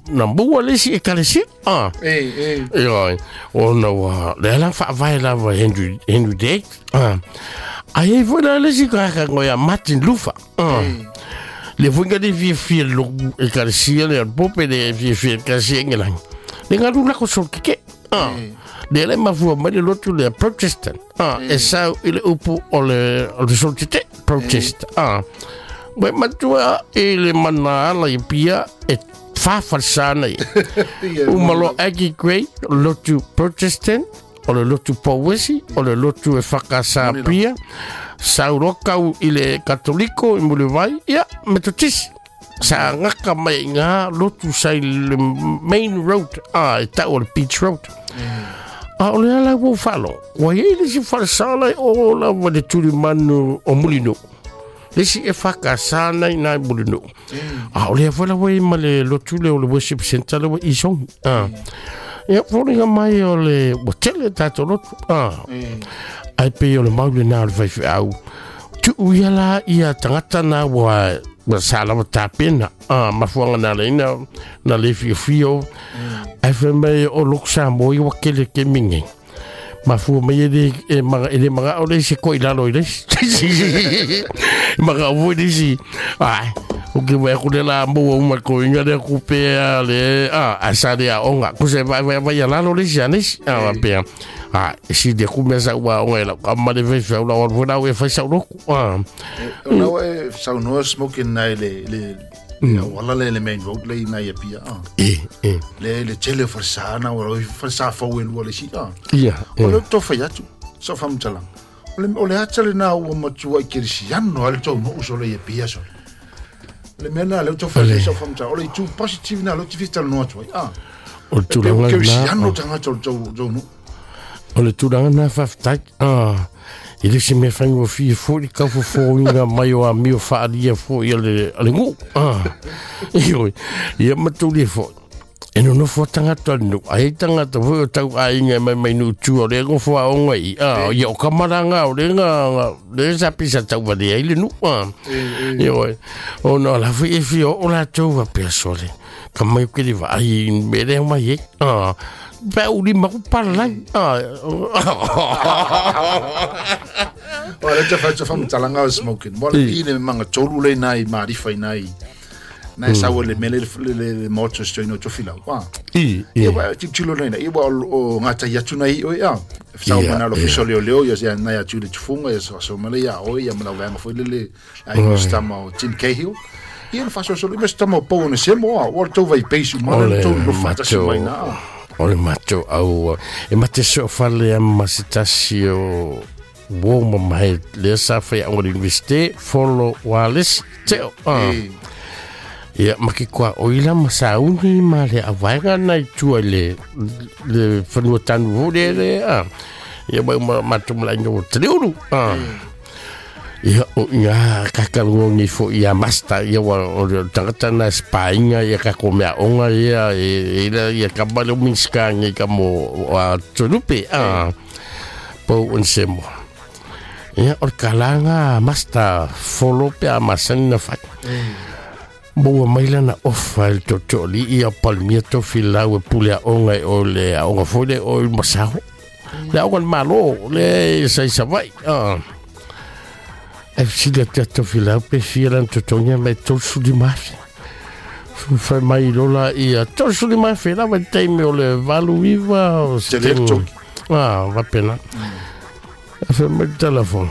na maua le isi ekalesia. Ah. E, e. Ioe, ona ua lea la faavae lava e Henry, Henry VIII. Ah. Ae i ai foi la le isi tagata ia Martin Luther. Ah. Le foi nga le fiafia i le ekalesia le pope le fiafia ekalesia Engelani. Le galu lako sol keke. Ah. Lea le mafua mai le lotu lea Protestant. Ah, e sau i le upu o le sol tete protest. Ah. Ua e matua i le mana ala i pia e fafalesana ia. Uma loa Aggie Gray, o le lotu Protestant, o le lotu Pauesi, o le lotu e whakasa pia, sau loa kau i le Katoliko i Mulivai, ia, Metotisi. Sa gaka mai i ngā lotu sa i le main road, a, e tau o le Beach Road. A o le ala ua ou faalogo, ua i ai le isi falesala e o lava le tulimanu o Mulinuu. Le isi e whakasa ana i nā i Mulinuu. A o lea foi la ua i ma le lotu lea o le worship center lea ua i Songi. A. Ia, foliga mai o le, ua tele tātou lotu. A. Ai pei o le mau lenā o le faifeau. Tuu ia la ia tagata na ua ua sa lava tapena a mafuanga na leina na le fiofio ai fai mai o loko Samoa ia ua kele ke mingi mafua mai e le e maga e le maga o le isi ko i lalo i le isi maga o le isi ai o ke wai ku le la mo uma ko inga le ku pe a le a a sa le a onga ku se vai vai vai a lalo le isi a le isi a pea A, e si le ku mea sa ua onga e lau ka male fai fai ula ua lau e fai sau loku. A. O lau e saunoa smoking nai le le auala le le main road le nai e pia. A. E, e. Le le tele o falesa na ua falesa fau e lua le si. A. Ia, e. O le to fai atu, sa whamutalang. O le, o le ata le nā ua matua i kerisiano ale tau no uso le e pia so. Le mea nā leo tau fai sa whamutalang. O le itu positive nā leo te whitala no atu ai. A. O le tulaga lena. Tagata o le tau, tau nuu. O le tulaga lena faafetai. Ah, e le se mea faigofie foi le kaufofoina mai o amio faaalia foi a le, a le nuu. Ah, ioe, ia matulia foi. E nonofo a tagata o le nuu, ai tagata foi o tau aiga e mai mai nuu tua o lea nofo aoga i, ah, ia o kamalaga o lea nga, lea sa pisa tau valea ai le nuu. Ah, ioe, ona o la foi e fia oo latou faapea sole. Ka mai ke le vaai me le mai e. Ah, pe u lima ku palalai. Ah. O le te whai te whamatalanga o smoking. Mo le i le manga tolu le nai maarifa i nai. Nai saua le mele le le le moto sto ino to filau. Wa. I, i. Ia wa ti tilo nei ia wa o ngata i atu nei o ia. Sau mana lo fiso leo leo ia ia nai atu le tufunga ia so male ia o ia mana wanga foi le le ai no stama o Tim Cahill. Ia na faasoasoa ma se tama o pau ona semo a, ua tou vai peisu ma le tou nofo faatasi mai na. O le matou au e mate soofale a ma se tasi o uo ma mahe lea sa fai aoga le Universite Folo Wireless teo. Ah. Ia ma ke kua oila ma sauni ma le avaega na i tua i le le fanua tanu foi le le ah. Ia mai ma matou malaga o Taliulu. Ah. Ia, o ngā kakalongi fo ia masta, ia wa o le tangata na spainga ia ka ko mea onga ia e ila ia ka male o minska ngi ka mo a tolupe a po un semo. Ia o le kalanga masta folo pe a masani na fai. Maua mai lana ofa e le tootooalii ia Palemia Tofilau e pule aoga i o le aoga foi lea o i Masaho. Le aoga a le Malo le sa i Savaii. Ah. Ae fesili atu ia Tofilau pe fia lana totogi mai 35,000. Fai mai lola ia 35,000 lava i le taimi o le 89 o se Tele taimi. totogi. Ah, faapena. Fai mai le telefoni.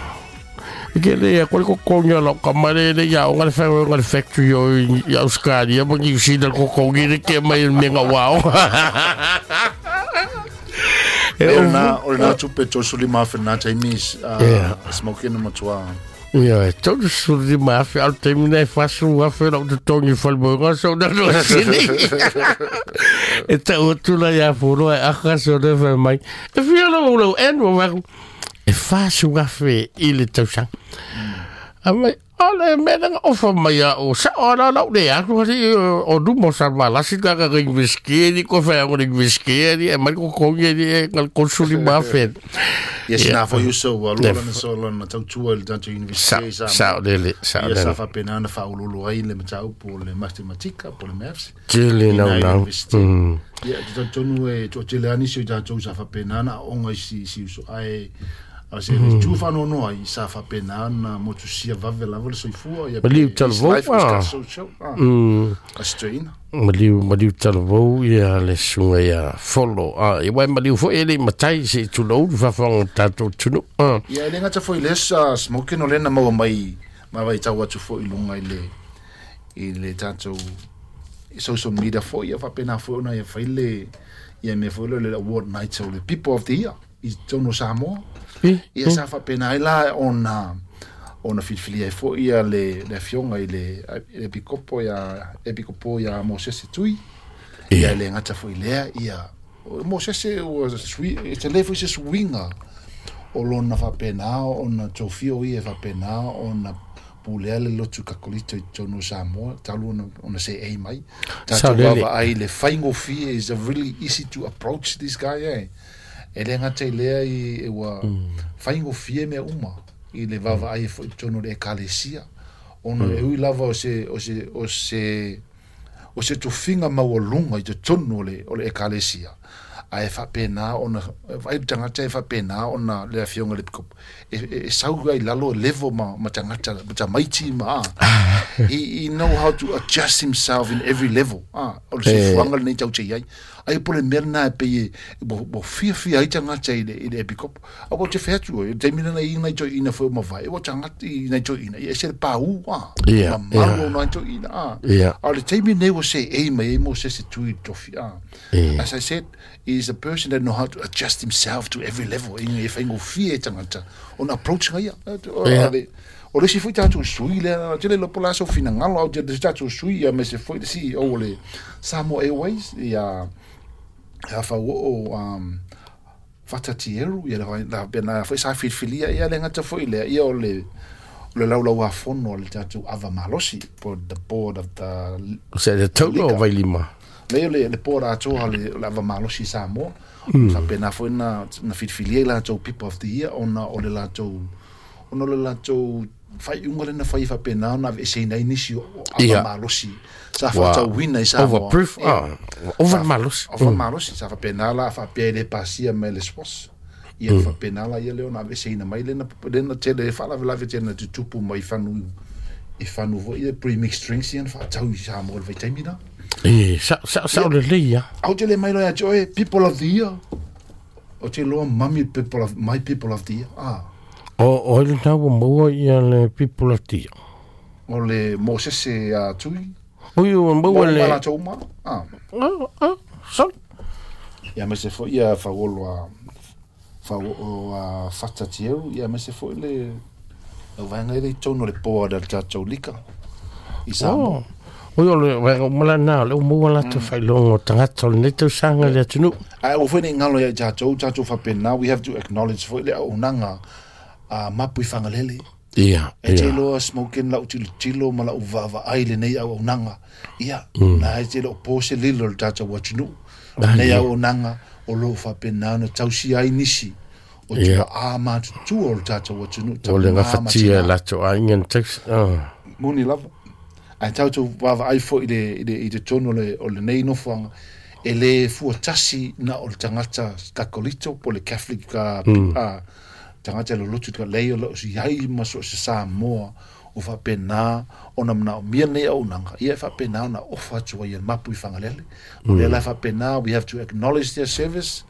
E ke le ia koe le kokogi o lau kama le le ia onga le whai onga le factory o i Australia ma New Zealand kokogi le ke mai me ngā wao. E o na o na tupe to suli ma na taimi smoking na matua. Ia, e 35,000 au taimi nei 40,000 lau totogi i whale so na no sini. E tau atu la ia furo e aka so le whai mai. E whia lau lau en wa waku. E 40,000 i le tausaga. A mai, Ale mea na ofa mai a o sa o la lau le atu hali o numo sa malasi ka ka university ni ko fa o university ni e mai ko ko ni e ngal konsuli ma fe. Yes, na fo yuso wa lo na so la na tautua i le tatou university sa sa lele sa lele. Sa faapena na faaulolo ai le mataupu o le mathematika po le maths. Tele nau nau. Ia, te talitonu e toatele lava nisi o i tatou sa faapena na aoga i si uso ae a se mm. tu whanono ai sa whapena na motusia vave lava le soifua ia Maliu talavou ah. A strain Maliu maliu talavou ia le sunga ia folo a i wai maliu foi ele matai se tulou fafanga tatou tunu ah. Ia le ngata foi le sa smoking o lena maua mai ma vai tau atu foi lunga i le tatou social media foi ia whapena foi ona ia fai le ia me foi le award night o le people of the year i tonu Samoa. Ia sa faapena ai la ona ona filifilia ai foi ia le le afioga i le le epikopo ia epikopo ia Mosese Tui. Ia le gata foi lea ia Mosese ua sui e tele foi se suiga o lona faapena ona tofia o ia e faapena ona pulea le lotu Kakolito i totonu o Samoa talu ona ona seei mai. Tatou vaavaai le faigofie is a really easy to approach this guy eh. E le gata i lea i ua faigofie mea uma i le vaavaai ai foi i totonu o le Ekalesia, ona e ui lava o se, o se, o se, o se tofiga maualuga i totonu o le, o le Ekalesia, ae faapena ona, vaai le tagata e faapena ona le Afioga i le Epikopo, e, e, e sau ai i lalo e level ma, ma tagata, ma tamaiti ma, he, he know how to adjust himself in every level, o le soifuaga lenei tatou te i ai. Ai po le mea lena e pei e ua fiafia ai tagata i le i le epikopo. A ua te fai atu oe, i le taimi lena i nai toeaina foi o mavae, ua tagata i nai toeaina, ia ese le paū, a, mamalu o nai toeaina, a. A o le taimi lenei ua seei mai ai Mosese Tui i le tofi, a. As I said, he is a person that know how to adjust himself to every level, ina ia faigofie e tagata ona approach ia. O le isi foi tatou sui lea, tele iloa po o le a sou finagalo, a o le tatou sui aemaise foi le CEO o le Samoa Airways ia ia Fauoo um, Fatatieru, ia la pena foi sa filifilia ia le gata foi lea, ia o le o le laulauafono a le tatou ava malosi po the board of the Se le taulo o Vailima. Lei o le, le board atoa le, le ava malosi i Samoa. Faapena foi na, na filifilia i latou people of the year ona o le latou Ona o le latou faaiuga lea na fai e faapena ona aveeseina ai nisi o ava malosi sa faatauina i Samoa. Overproof, over malosi. Over malosi, sa faapena la faapea e le pasia mai le SWOS. Ia faapena la ia lea ona aveeseina mai lena lena tele faalavelave tele na tutupu mai fanu i fanu foi ia pre-mixed drinks ia na faatau i Samoa i le vaitaimi lena. E, sa sa sa o lelei ia. Au te le mai loa ia te oe, people of the year. O te loa mami people of, my people of the year. Ah. O, o ai lena ua maua ia le people of the year? O le Mosese a Tui. Ui, ua maua le... Maua latou uma. Ah. Ah, ah, sorry. Ia aemaise foi ia Fauolo a Fauoo a Whatatieu, ia aemaise foi le lau vaega i totonu o le board a le tatou Lika i Samoa. Oh. Oi, o le vaega uma lena, o lea ua maua latou faailoga o tagata o lenei tausaga i le atunuu. Ae aua foi ne i galo ia i tatou, tatou faapena, we have to acknowledge foi le auaunaga a Mapu i Fagalele. Ia, E te iloa smoking lau tilotilo ma lau vaavaai i lenei auaunaga. Ia, na e te le o po se lilo i le tatou atunuu. Lenei auaunaga o lo o faapena ona tausia ai nisi o tuaa matutua o le tatou atunuu. O le gafatia e latou aiga na tausi. Moni lava. Ae tatou vaavaai foi i le, i le, i totonu o le, o lenei nofoaga, e le fuatasi na o le tagata Kakolito po o le Catholic tagata e lolotu i lei o lo o i ai ma so o se Samoa o faapena ona manaomia lenei auaunaga, ia e faapena ona ofa atu ai e Mapu i Fagalele. O lea la e faapena, we have to acknowledge their service,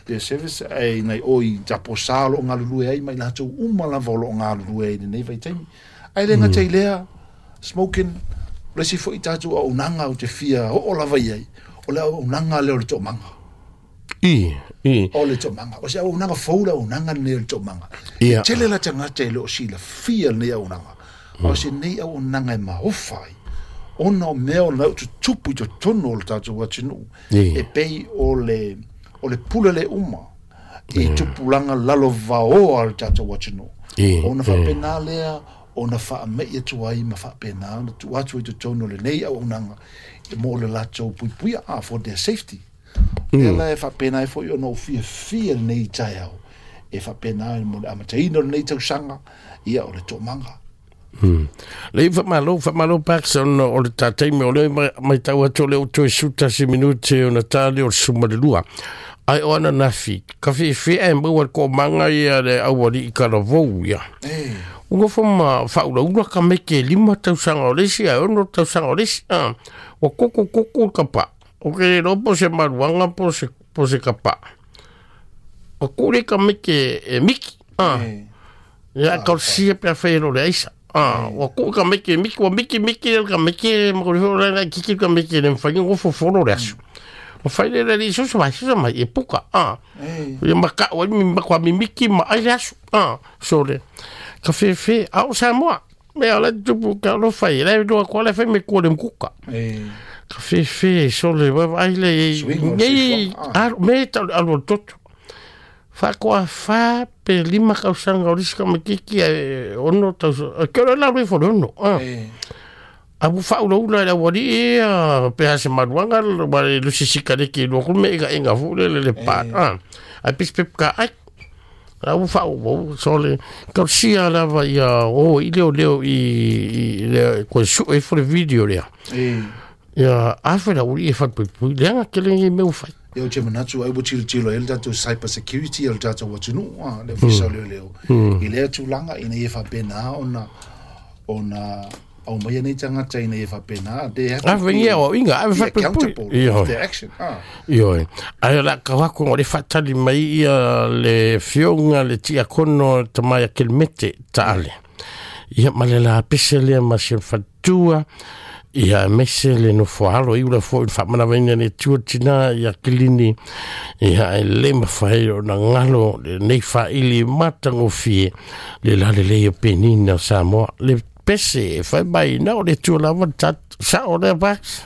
their service, e nai o i Taposa o lo o galulue ai ma i latou uma lava o lo o galulue ai i lenei vaitaimi. Ae le gata i lea, smoking, o le isi foi tatou auaunaga ou te fia oo lava i ai, o le auaunaga lea o le toomaga. I, i. O le toomaga. O se auaunaga fou le auaunaga lenei o le toomaga. E tele la tagata e le o silafia lenei auaunaga. A o se nei auaunaga e maofa ai, ona o mea o la e tutupu i totonu o le tatou atunuu, e pei o le, o le pule le uma i tupulaga lalovaoa o le tatou atunuu. Ona faapena lea ona faame'i atu ai ma faapena ona tuu atu ai totonu o lenei auaunaga mo le latou puipuia for their safety. Lea la e faapena ai foi ona ou fiafia lenei taeao e faapena mo le amataina o lenei tausaga ia o le toomaga. Lei whamalo, whamalo Pax ona o le tātai me o le mai tau atu o le o toe 11 minute o na tāle o le suma le lua. Ai o ana nafi, ka whiwhi e maua le ko manga ia le awari i karavou ia. Unga fo ma whaula ula ka meke 5 tausaga o le isi ai 6 tausaga o le isi. Wa koko koko ka pa. O ke le po se maruanga po se kapa. O kure ka meke e miki. Ia ka sia pe whaero le aisa. Wa ku ka meke miki wa miki miki ka meke mo ko le kiki ka meke le whainga o foforo le aso. O whai le le so mai so mai e puka. Ia maka o mi makwa mi miki ma ai le aso. So le ka whewhe a o Samoa. Me ala tupu ka lo whai le doa ko le whai me ko le mkuka. Ka whewhe so le wa ai le nei me ta alo toto. Whakoa wha pe 5 kausanga o risika me kiki e ono tau ke ora la rui fo ono. Abu whaula ula le awari e pe hase maruanga wa le lusisika le ki lua kume ega enga fu le le pa. Ai pis pep ka ai. Abu whau so le kausia lava ia o i leo leo i le koe su e fo le video lea. Ia awhera uri e whatpui leanga ke lengi meu whai. Ia o te manatu ai ua tilotilo ai le tatou cyber security o le tatou atunuu le ofisa o leoleo i lea tulaga ina ia faapena ona aumaia nei tagata ina ia faapena they have to be accountable of their action. Ioe ai la kawako o le faatali mai ia le fioga le tiakono tamaia kelemete taale ia ma le la pese lea ma se fatua ia mese le nofo alo i ula fo i whamanawaina le tua tina ia kilini ia e le mawhai o na ngalo le nei whaili matangofie le lale lea penina Samoa le pese e whai mai na o le tua lava sa o le vax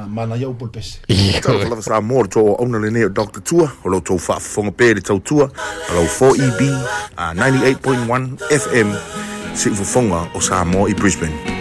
mana iau po le pese. Talofa lava Samoa le tō auna le nei o Dr. Tua o lau tau whaafafonga pē le tautua a lau 4EB 98.1 FM si ufafonga o Samoa i Brisbane.